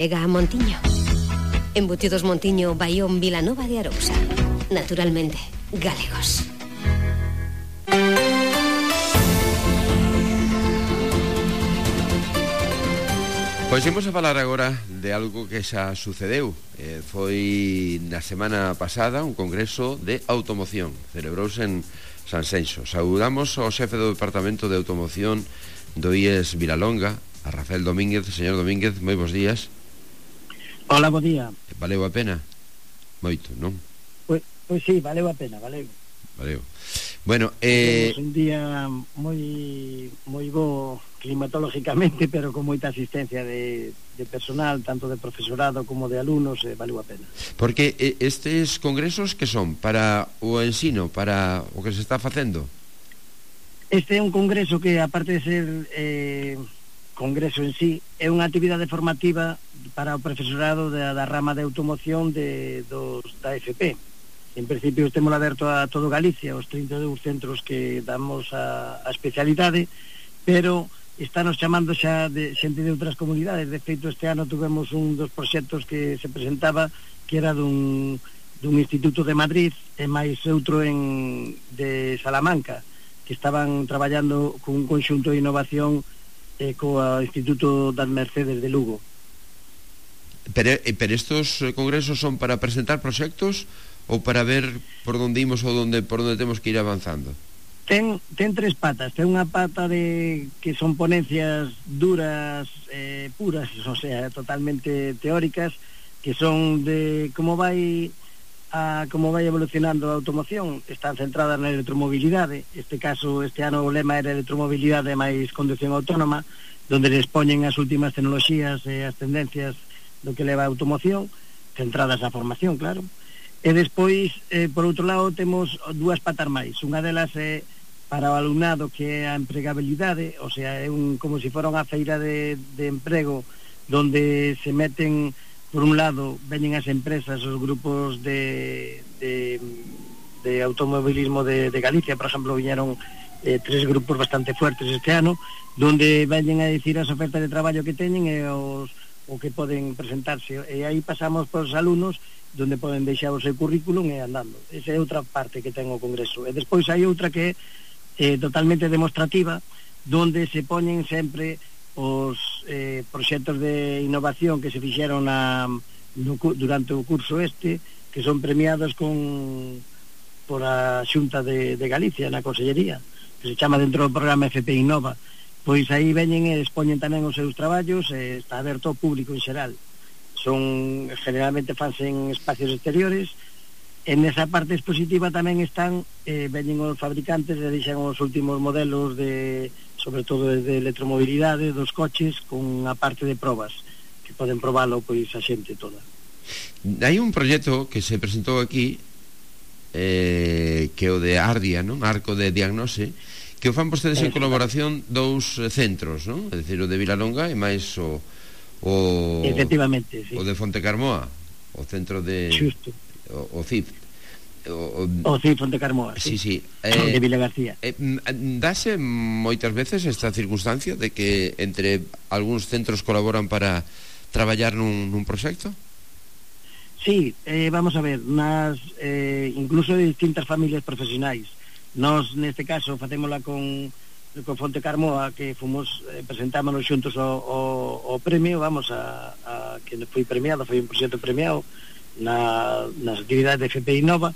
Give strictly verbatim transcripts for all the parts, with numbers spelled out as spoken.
Chega a Montiño. Embutidos Montiño, Baión, Vilanova de Arousa. Naturalmente, galegos. Pois imos a falar agora de algo que xa sucedeu. eh, Foi na semana pasada un congreso de automoción. Celebrouse en Sanxenxo. Saudamos ao xefe do Departamento de Automoción do I E S Vilalonga, a Rafael Domínguez. Señor Domínguez, moi bons días. Hola, bo día. Valeu a pena? Moito, non? Pois, pois sí, valeu a pena, valeu. Valeu. Bueno, eh... un día moi moi bo climatológicamente, pero con moita asistencia de, de personal, tanto de profesorado como de alumnos, eh, valeu a pena. Porque eh, estes congresos que son para o ensino, para o que se está facendo? Este é un congreso que, aparte de ser eh, congreso en sí, é unha actividade formativa para o profesorado da, da rama de automoción de, dos, da F P. En principio temos aberto a todo Galicia, os trinta e dous centros que damos a, a especialidade, pero estános chamando xa de xente de outras comunidades. De feito, este ano tuvemos un dos proxectos que se presentaba, que era dun, dun instituto de Madrid e máis outro en, de Salamanca, que estaban traballando con un conxunto de innovación eh, co Instituto das Mercedes de Lugo. Pero, pero estos congresos son para presentar proxectos ou para ver por onde imos ou donde, por onde temos que ir avanzando? Ten, ten tres patas. Ten unha pata de que son ponencias duras, eh, puras, o sea, totalmente teóricas, que son de como vai a como vai evolucionando a automoción. Están centradas na electromobilidade. Este caso, este ano o lema era electromobilidade máis conducción autónoma, donde les poñen as últimas tecnoloxías e as tendencias do que leva a automoción, centradas na formación, claro. E despois, eh, por outro lado, temos dúas patas máis. Unha delas é para o alumnado, que é a empregabilidade, o sea, é un, como se fora unha feira de, de emprego, donde se meten, por un lado, veñen as empresas, os grupos de, de, de automobilismo de, de Galicia, por exemplo, viñeron eh, tres grupos bastante fuertes este ano, donde veñen a dicir as ofertas de traballo que teñen e os, o que poden presentarse. E aí pasamos por os alumnos, donde poden deixar o seu currículum e andando. Esa é outra parte que ten o congreso. E despois hai outra que é eh, totalmente demostrativa, donde se poñen sempre os eh, proxectos de innovación que se fixeron na, no, durante o curso este, que son premiados con por a Xunta de, de Galicia, na Consellería, que se chama dentro do programa F P Innova. Pois aí veñen e expoñen tamén os seus traballos, e está aberto ao público en xeral. Son, generalmente fanse en espacios exteriores. En esa parte expositiva tamén están, eh, veñen os fabricantes e deixan os últimos modelos de, sobre todo de electromobilidade dos coches, con a parte de probas, que poden probalo pois a xente toda. Hai un proxecto que se presentou aquí, eh, que é o de Ardia, non? Arco de Diagnose, que o fan vostedes en colaboración dous centros, non? É dicir, o de Vilalonga e máis o o efectivamente, sí. O de Fontecarmoa, o centro de xusto, o, o C I F, o, o, o C I F Fontecarmoa, sí, sí, sí. Eh, de Vila García. Eh, dáse moitas veces esta circunstancia de que entre algúns centros colaboran para traballar nun, nun proxecto? Sí, eh, vamos a ver, nas, eh, incluso de distintas familias profesionais. Nos, neste caso, facémola con con Fontecarmoa, que fomos, eh, presentámonos xuntos o, o, o premio, vamos, a, a que foi premiado, foi un proxecto premiado na, nas actividades de F P Innova,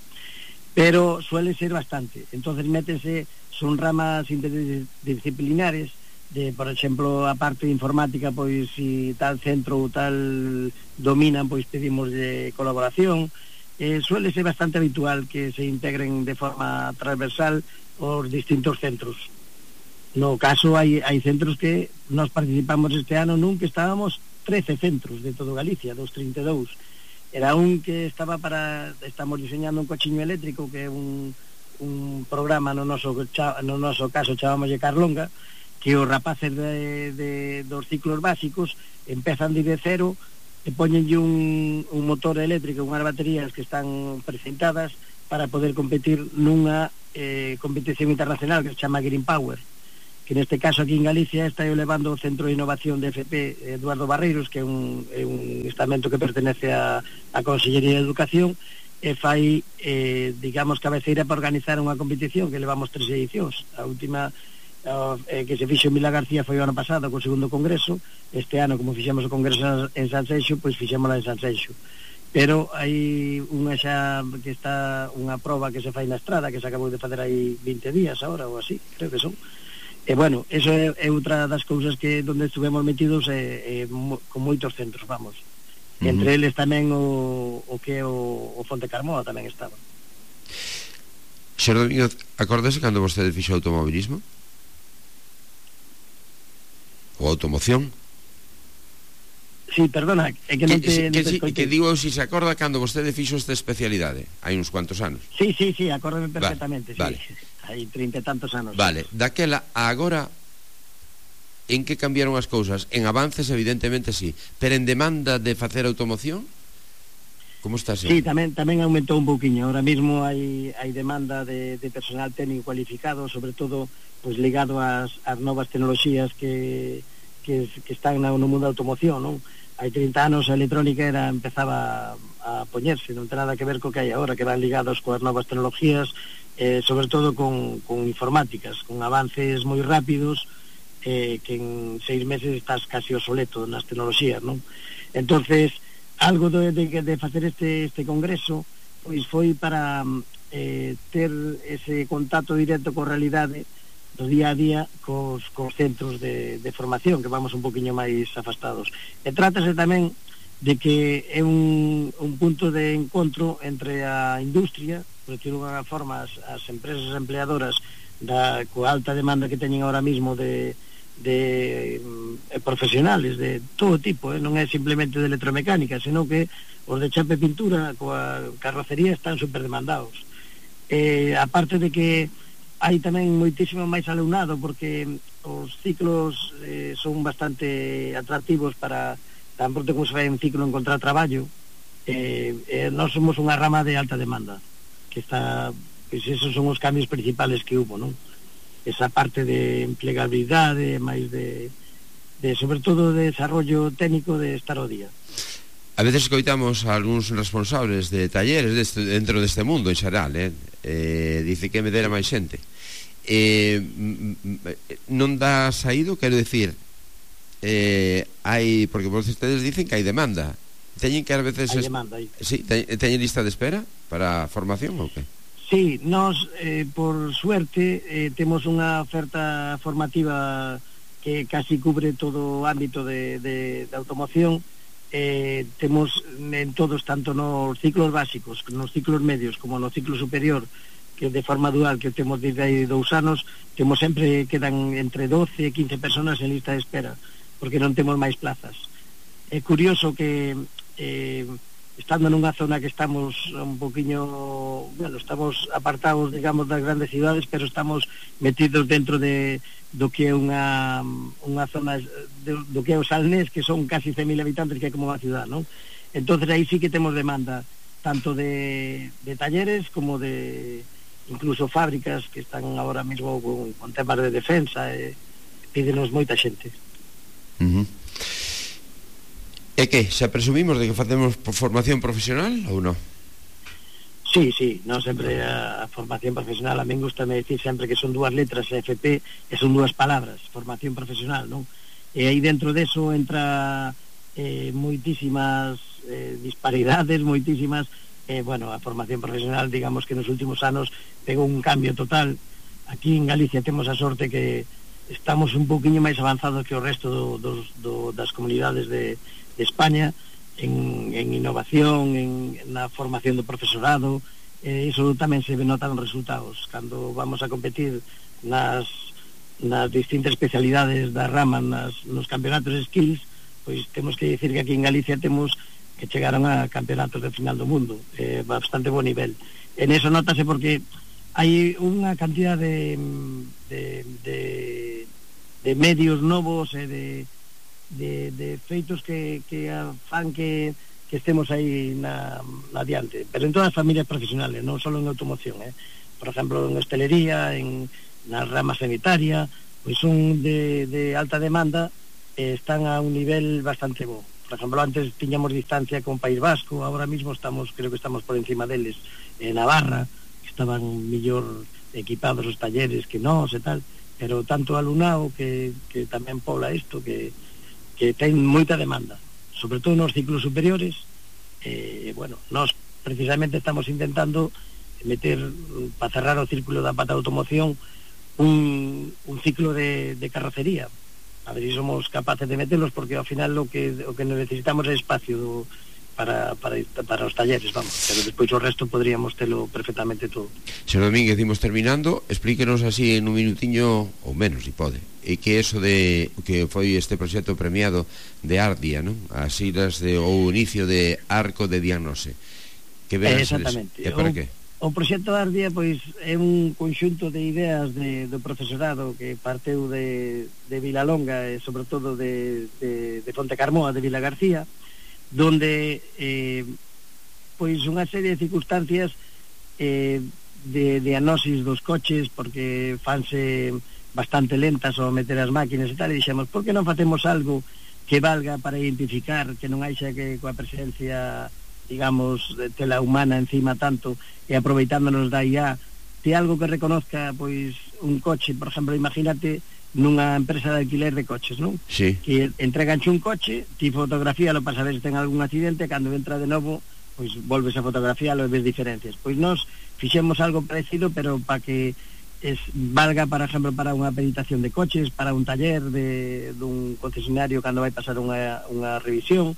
pero suele ser bastante. Entonces métense, son ramas interdisciplinares, de, por exemplo, a parte de informática, pois si tal centro ou tal dominan, pois pedimos de colaboración. Eh, suele ser bastante habitual que se integren de forma transversal os distintos centros. No caso, hai, hai centros que nos participamos este ano nun que estábamos trece centros de todo Galicia, dos trinta e dous. Era un que estaba para, estamos diseñando un cochiño eléctrico, que é un, un programa no noso, no noso caso chamámoslle Carlonga, que os rapaces de, de, dos ciclos básicos empezan de cero e poñenlle un, un motor eléctrico, unhas baterías que están precintadas para poder competir nunha eh, competición internacional que se chama Green Power. que neste caso aquí en Galicia está levando o Centro de Innovación de F P Eduardo Barreiros, que é un, é un estamento que pertenece a, a Consellería de Educación, e fai, eh, digamos, cabeceira para organizar unha competición que levamos tres edicións. A última eh, que se fixo en Vila García foi o ano pasado co segundo congreso. Este ano, como fixemos o congreso en Sanxenxo, pois fixémola en Sanxenxo. Pero hai unha xa que está unha proba que se fai na estrada, que se acabou de facer aí vinte días agora ou así, creo que son. E bueno, eso é, é outra das cousas que donde estuvemos metidos é, é, mo, con moitos centros, vamos. Uh-huh. Entre eles tamén o, o que é o, o Fonte Carmoa tamén estaba. Xer Domínguez, acordase cando vostede fixo automobilismo? Ou automoción? Sí, perdona, é que non te, que, non te si, que digo, se si se acorda cando vostede fixo esta especialidade hai uns cuantos anos. Sí, sí, sí, acórdame perfectamente, vale, sí. Vale. Hai trinta e tantos anos. Vale, daquela a agora en que cambiaron as cousas? En avances evidentemente sí, pero en demanda de facer automoción? Como está sendo? Sí, tamén tamén aumentou un pouquiño. Ahora mismo hai hai demanda de, de personal técnico cualificado, sobre todo pois ligado ás, ás novas tecnoloxías que, que, que están no mundo da automoción, non? Hai trinta anos a electrónica era empezaba a poñerse, non ten nada que ver co que hai agora, que van ligados coas novas tecnologías, eh, sobre todo con, con informáticas, con avances moi rápidos, eh, que en seis meses estás casi obsoleto nas tecnoloxías, non? Entonces, algo de, de, de facer este, este congreso, pois foi para eh, ter ese contacto directo coa realidade do día a día cos, cos centros de, de formación, que vamos un poquinho máis afastados. E trátase tamén de que é un, un punto de encontro entre a industria, por decirlo de alguna forma, as, as empresas empleadoras da coa alta demanda que teñen ahora mismo de, de eh, profesionales de todo tipo, eh? Non é simplemente de electromecánica, senón que os de chapa e pintura coa carrocería están super demandados. Eh, aparte de que hai tamén moitísimo máis alumnado, porque os ciclos eh, son bastante atractivos para tan pronto como se vai en ciclo encontrar traballo. eh, eh, nós somos unha rama de alta demanda, que está, pois esos son os cambios principales que hubo, non? Esa parte de empleabilidade, máis de, de sobre todo de desarrollo técnico de estar ao día. A veces escoitamos a algúns responsables de talleres deste, dentro deste mundo en xeral, eh? Eh, dice que me dera máis xente. Eh, non dá saído, quero dicir, eh, hai, porque vostedes dicen que hai demanda. Teñen que a veces... Hai demanda, hai. Sí, teñen lista de espera para a formación ou que? Sí, nós, eh, por suerte, eh, temos unha oferta formativa que casi cubre todo o ámbito de, de, de automoción. Eh, temos en todos, tanto nos ciclos básicos, nos ciclos medios, como no ciclo superior, que de forma dual, que temos desde aí dous anos, temos sempre, quedan entre doce e quince personas en lista de espera, porque non temos máis plazas. É curioso que... Eh, estando nunha zona que estamos un poquinho, bueno, estamos apartados, digamos, das grandes cidades, pero estamos metidos dentro de do que é unha unha zona de, do que é o Salnés, que son casi cen mil habitantes, que é como unha ciudad, non? Entonces aí sí que temos demanda tanto de, de talleres como de incluso fábricas que están ahora mismo con, con temas de defensa, e pídenos moita xente. Uh-huh. E que, xa presumimos de que facemos formación profesional ou non? Sí, sí, non sempre a, a formación profesional, a min gusta me decir sempre que son dúas letras F P e son dúas palabras, formación profesional, non? E aí dentro deso entra eh, moitísimas eh, disparidades, moitísimas, eh, bueno, a formación profesional, digamos que nos últimos anos pegou un cambio total. Aquí en Galicia temos a sorte que estamos un poquinho máis avanzados que o resto do, dos, do, das comunidades de de España en, en innovación, en, na formación do profesorado. Eh, iso tamén se notan os resultados cando vamos a competir nas, nas distintas especialidades da rama, nas, nos campeonatos de skills, pois temos que dicir que aquí en Galicia temos que chegaron a campeonatos de final do mundo, eh, bastante bo nivel. En eso notase porque hai unha cantidad de, de, de, de medios novos e de De, de feitos que, que fan que, que estemos aí na, na adiante, pero en todas as familias profesionales, non só en automoción, eh? Por exemplo, en hostelería, en na rama sanitaria, pois son de, de alta demanda e están a un nivel bastante bo. Por exemplo, antes tiñamos distancia con País Vasco, ahora mismo estamos, creo que estamos por encima deles en Navarra, que estaban mellor equipados os talleres que nós e tal, pero tanto alumnado que, que tamén pobla isto, que, que ten moita demanda, sobre todo nos ciclos superiores. E, eh, bueno, nós precisamente estamos intentando meter, para cerrar o círculo da pata de automoción, un, un ciclo de, de carrocería. A ver si somos capaces de meterlos, porque ao final lo que, o que necesitamos é espacio do, para, para, para os talleres, vamos, pero despois o resto podríamos telo perfectamente todo. Señor Domínguez, imos terminando, explíquenos así en un minutiño, ou menos, si pode, e que eso de que foi este proxecto premiado de Ardia, non? As siglas de, ou inicio de Arco de Diagnose. Que ven eh, exactamente. E para que? O proxecto Ardia, pois, é un conxunto de ideas de, do profesorado que parteu de, de Vilalonga e sobre todo de, de, de Fonte Carmoa, de Vila García, donde eh, pois unha serie de circunstancias eh, de diagnosis dos coches, porque fanse bastante lentas ao meter as máquinas e tal, e dixemos, por que non facemos algo que valga para identificar, que non haixa que coa presencia, digamos, de tela humana encima tanto, e aproveitándonos da I A, de algo que reconozca, pois, un coche, por exemplo, imagínate nunha empresa de alquiler de coches, non? Sí. Que entreganche un coche, ti fotografíalo para saber se ten algún accidente, cando entra de novo, pois volves a fotografialo e ves diferencias. Pois nós fixemos algo parecido, pero para que es, valga, por exemplo, para unha peritación de coches, para un taller de, dun concesionario cando vai pasar unha, unha revisión.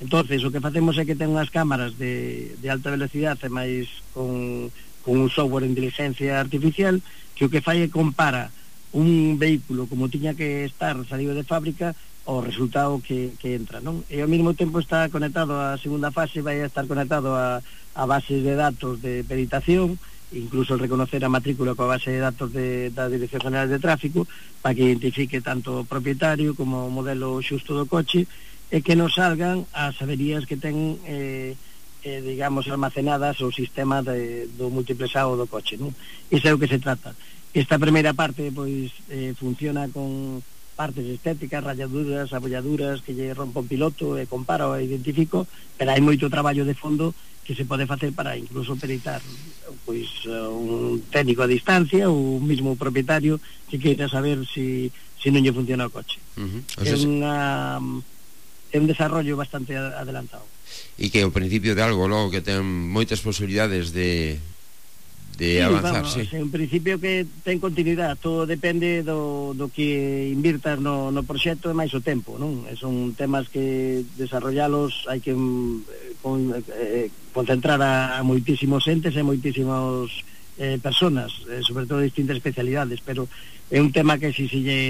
Entonces, o que facemos é que ten unhas cámaras de, de alta velocidade, máis con, con un software de inteligencia artificial, que o que fai é compara un vehículo como tiña que estar salido de fábrica ao resultado que, que entra, non? E ao mesmo tempo está conectado á segunda fase, vai a estar conectado a, a bases de datos de peritación, incluso reconocer a matrícula coa base de datos de, da Dirección General de Tráfico, para que identifique tanto o propietario como o modelo xusto do coche, e que nos salgan as averías que ten, eh, eh, digamos, almacenadas o sistema de, do multiplexado do coche, non? Iso é o que se trata. Esta primeira parte, pois, eh, funciona con partes estéticas, rayaduras, abolladuras, que lle rompa un piloto e compara e identifico, pero hai moito traballo de fondo que se pode facer para incluso peritar, pois, un técnico a distancia ou un mismo propietario que queira saber si, si non lle funciona o coche. Uh-huh. O sea, é unha... é un desarrollo bastante adelantado. E que o principio de algo logo que ten moitas posibilidades de, de sí, avanzar, vamos, sí. É un principio que ten continuidade, todo depende do, do que invirtas no, no proxecto e máis o tempo, non? E son temas que desarrollalos hai que eh, con, eh, concentrar a, a moitísimos entes e moitísimos eh, personas, eh, sobre todo distintas especialidades, pero é un tema que si se lle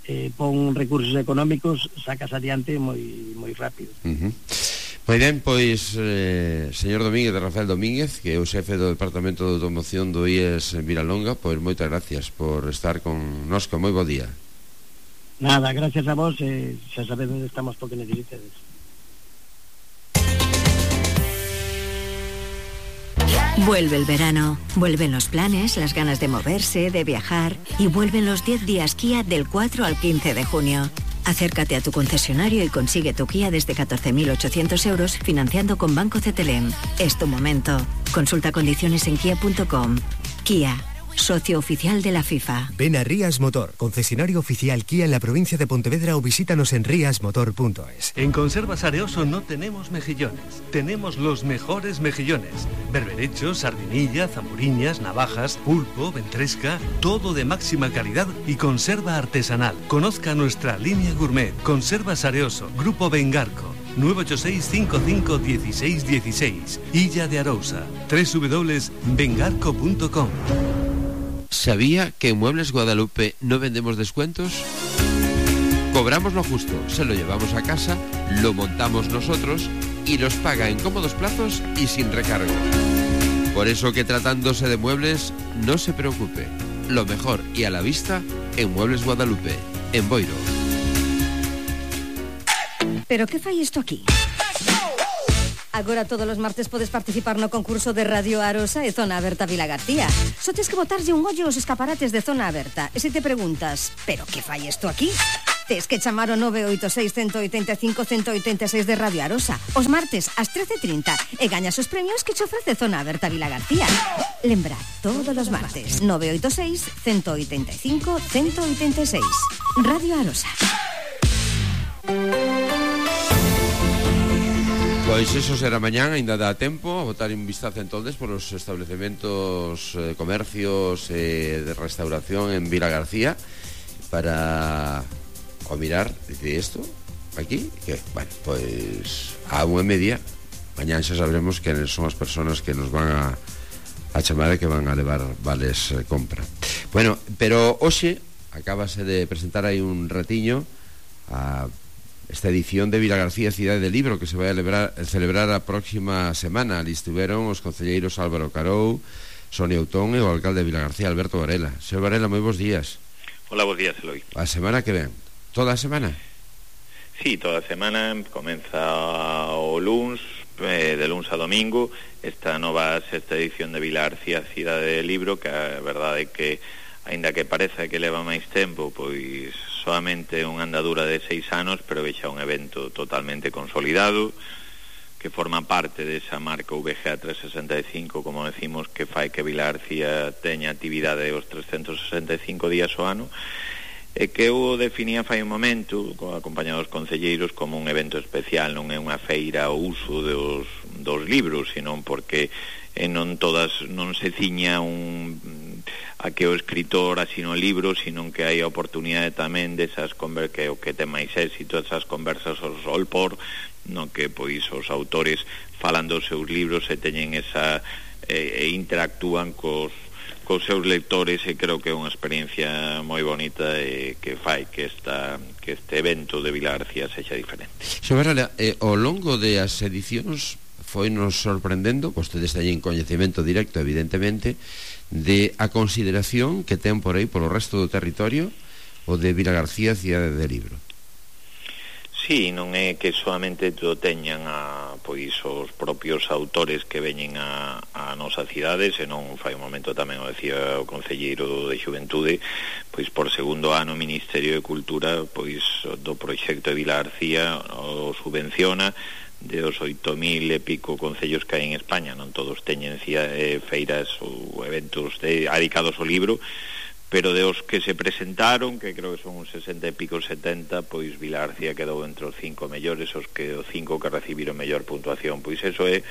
eh, pon recursos económicos sacas adiante moi moi rápido. Uh-huh. Moi ben, pois, eh, señor Domínguez, de Rafael Domínguez, que é o xefe do Departamento de Automoción do I E S en Vilalonga, pois moitas gracias por estar con nos, con moi bo día. Nada, gracias a vos, eh, xa sabedes onde estamos porque necesitedes. Vuelve el verano, vuelven los planes, las ganas de moverse, de viajar y vuelven los diez días Kia del cuatro al quince de junio. Acércate a tu concesionario y consigue tu Kia desde catorce mil ochocientos euros financiando con Banco C T L M. Es tu momento. Consulta condiciones en kia punto com. Kia, socio oficial de la FIFA. Ven a Rías Motor, concesionario oficial Kia en la provincia de Pontevedra, o visítanos en rías motor punto es. En Conservas Areoso no tenemos mejillones, tenemos los mejores mejillones. Berberechos, sardinilla, zamburiñas, navajas, pulpo, ventresca, todo de máxima calidad y conserva artesanal. Conozca nuestra línea gourmet. Conservas Areoso, Grupo Bengarco. nueve ocho seis, cinco cinco, uno seis uno seis. Illa de Arousa. doble u doble u doble u punto bengarco punto com. ¿Sabía que en Muebles Guadalupe no vendemos descuentos? Cobramos lo justo, se lo llevamos a casa, lo montamos nosotros y los paga en cómodos plazos y sin recargo. Por eso que tratándose de muebles, no se preocupe. Lo mejor y a la vista en Muebles Guadalupe, en Boiro. ¿Pero qué fai isto aquí? Agora todos os martes podes participar no concurso de Radio Arosa e Zona Aberta Vilagarcía. Só tes que botarlle un ollo aos escaparates de Zona Aberta. E se te preguntas, pero que fai isto aquí? Tes que chamar o nove oito seis, uno oito cinco, uno oito seis de Radio Arosa os martes ás trece e trinta e gañas os premios que che ofrece Zona Aberta Vilagarcía. Lembra, todos os martes, nove oito seis, uno oito cinco, uno oito seis. Radio Arosa. Pois eso será mañán, ainda dá tempo a botar un vistazo entonces por os establecementos, eh, comercios eh, de restauración en Vilagarcía para o mirar, dice isto aquí, que, bueno, pois a unha e media mañán xa sabremos que son as persoas que nos van a, a chamar e que van a levar vales eh, compra. Bueno, pero hoxe acabase de presentar aí un ratiño a esta edición de Vilagarcía Cidade de Libro que se vai a celebrar, a celebrar a próxima semana. Ali estiveron os concelleiros Álvaro Carou, Sonia Outón e o alcalde de Vilagarcía, Alberto Varela. Señor Varela, moi bons días. Hola, bons días, Eloi. A semana que ven? Toda a semana? Sí, toda a semana, comeza o luns, eh, de luns a domingo, esta nova sexta edición de Vilagarcía Cidade de Libro, que a verdade é que, aínda que parece que leva máis tempo, pois solamente unha andadura de seis anos, pero vexa un evento totalmente consolidado, que forma parte desa marca V G A trescentos sesenta e cinco, como decimos, que fai que Vilagarcía teña actividade os trescentos sesenta e cinco días ao ano, e que eu definía fai un momento, acompañado dos concelleiros, como un evento especial. Non é unha feira ao uso dos, dos libros, senón porque eh, non todas non se ciña un a que o escritor asino libros, sino que hai a oportunidade tamén desas conver que o que ten máis éxito, esas conversas ao sol por, no que pois os autores falan dos seus libros e teñen esa e, e interactúan cos cos seus lectores, e creo que é unha experiencia moi bonita e que fai que esta que este evento de Vilagarcía sexa diferente. Xabarala, eh, ao longo de as edicións foi nos sorprendendo, vostedes teñen coñecemento directo, evidentemente, de a consideración que ten por aí polo resto do territorio o de Vilagarcía Cidade de Libro. Sí, non é que solamente to teñan a, pois, os propios autores que veñen a, a nosa cidade, senón fai un momento tamén o decía o concelleiro de Xuventude, pois por segundo ano o Ministerio de Cultura pois do proxecto de Vilagarcía o subvenciona de os oito mil e pico concellos que hai en España. Non todos teñen eh, feiras ou eventos de, dedicados ao libro, pero de os que se presentaron, que creo que son uns sesenta e pico, setenta, pois Vilagarcía quedou entre os cinco mellores, os que os cinco que recibiron mellor puntuación. Pois eso é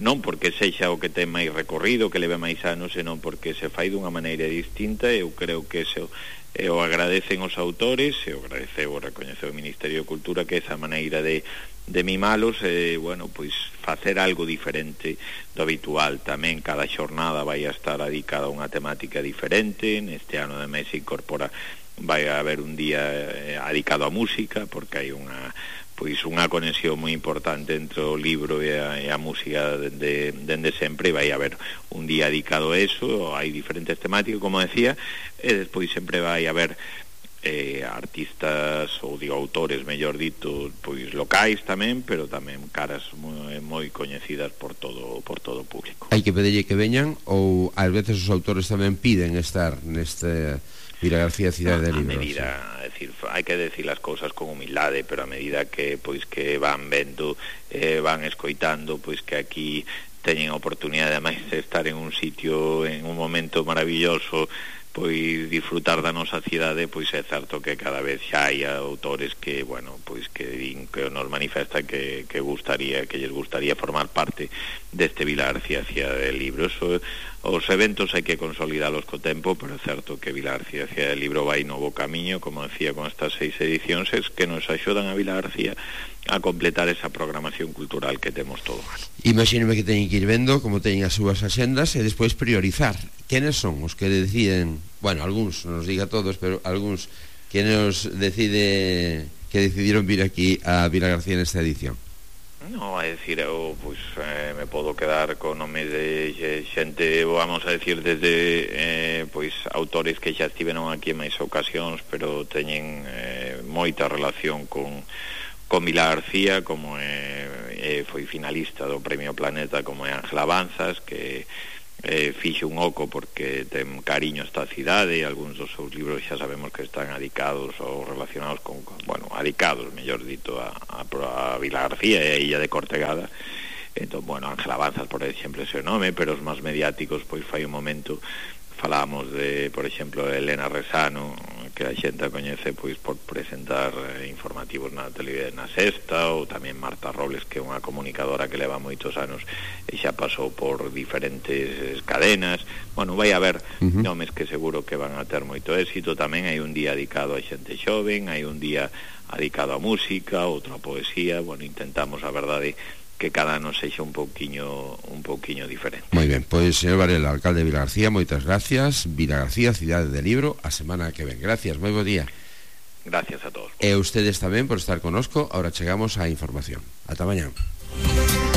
non porque sexa o que ten máis recorrido, que leve máis anos, senón porque se fai dunha maneira distinta. Eu creo que eso e o agradecen os autores, e o agradeceu o recoñeceu o Ministerio de Cultura, que esa maneira de de mimalos, e, bueno, pois facer algo diferente do habitual. Tamén cada xornada vai a estar dedicada a unha temática diferente. Neste ano de mes se incorpora, vai a haber un día eh, dedicado a música, porque hai unha pois unha conexión moi importante entre o libro e a, e a música dende, dende sempre, e vai haber un día dedicado a eso. Hai diferentes temáticas, como decía, e despois sempre vai haber eh, artistas, ou digo autores, mellor dito, pois locais tamén, pero tamén caras moi, moi coñecidas por todo por todo o público. Hai que pedirlle que veñan, ou ás veces os autores tamén piden estar neste Vilagarcía Cidade de Libro? A medida, é dicir, hai que decir as cousas con humildade, pero a medida que pois que van vendo, eh, van escoitando, pois que aquí teñen a oportunidade ademais de estar en un sitio, en un momento maravilloso, pois disfrutar da nosa cidade, pois é certo que cada vez xa hai autores que, bueno, pois que din, que nos manifesta que, que gustaría, que lles gustaría formar parte deste Vilagarcía Cidade de Libro. Eso, os eventos hai que consolidalos co tempo, pero é certo que Vilagarcía Cidade de Libro vai no bo camiño, como decía, con estas seis edicións, es que nos axudan a Vilagarcía a completar esa programación cultural que temos todo o ano. Imagíneme que teñen que ir vendo como teñen as súas axendas e despois priorizar. Quenes son os que deciden, bueno, algúns, non nos diga todos, pero algúns, quenes decide que decidiron vir aquí a Vilagarcía nesta edición? No, é dicir, eu pois, eh, me podo quedar con nome de xente, vamos a decir, desde eh, pois autores que xa estiveron aquí en máis ocasións, pero teñen eh, moita relación con con Vila García, como é, é, foi finalista do Premio Planeta, como é Ángela Banzas, que eh, fixe un oco porque ten cariño esta cidade, e algúns dos seus libros xa sabemos que están adicados ou relacionados con, bueno, adicados, mellor dito, a, a, a Vila García e a Illa de Cortegada. Entón, bueno, Ángela Banzas, por exemplo, ese nome, pero os máis mediáticos, pois fai un momento falamos de, por exemplo, Elena Resano, que a xente a coñece pois por presentar eh, informativos na televisión, na Sexta, ou tamén Marta Robles, que é unha comunicadora que leva moitos anos e xa pasou por diferentes cadenas. Bueno, vai haber uh-huh. nomes que seguro que van a ter moito éxito. Tamén hai un día dedicado a xente xoven, hai un día dedicado a música, outro a poesía. Bueno, intentamos, a verdade, que cada ano sexa un pouquiño un pouquiño diferente. Moi ben, pois, señor Varela, alcalde de Vila García, moitas gracias. Vila García, cidade de libro, a semana que ven. Gracias, moi bo día. Gracias a todos. E ustedes tamén por estar conosco. Ahora chegamos á información. Ata mañá.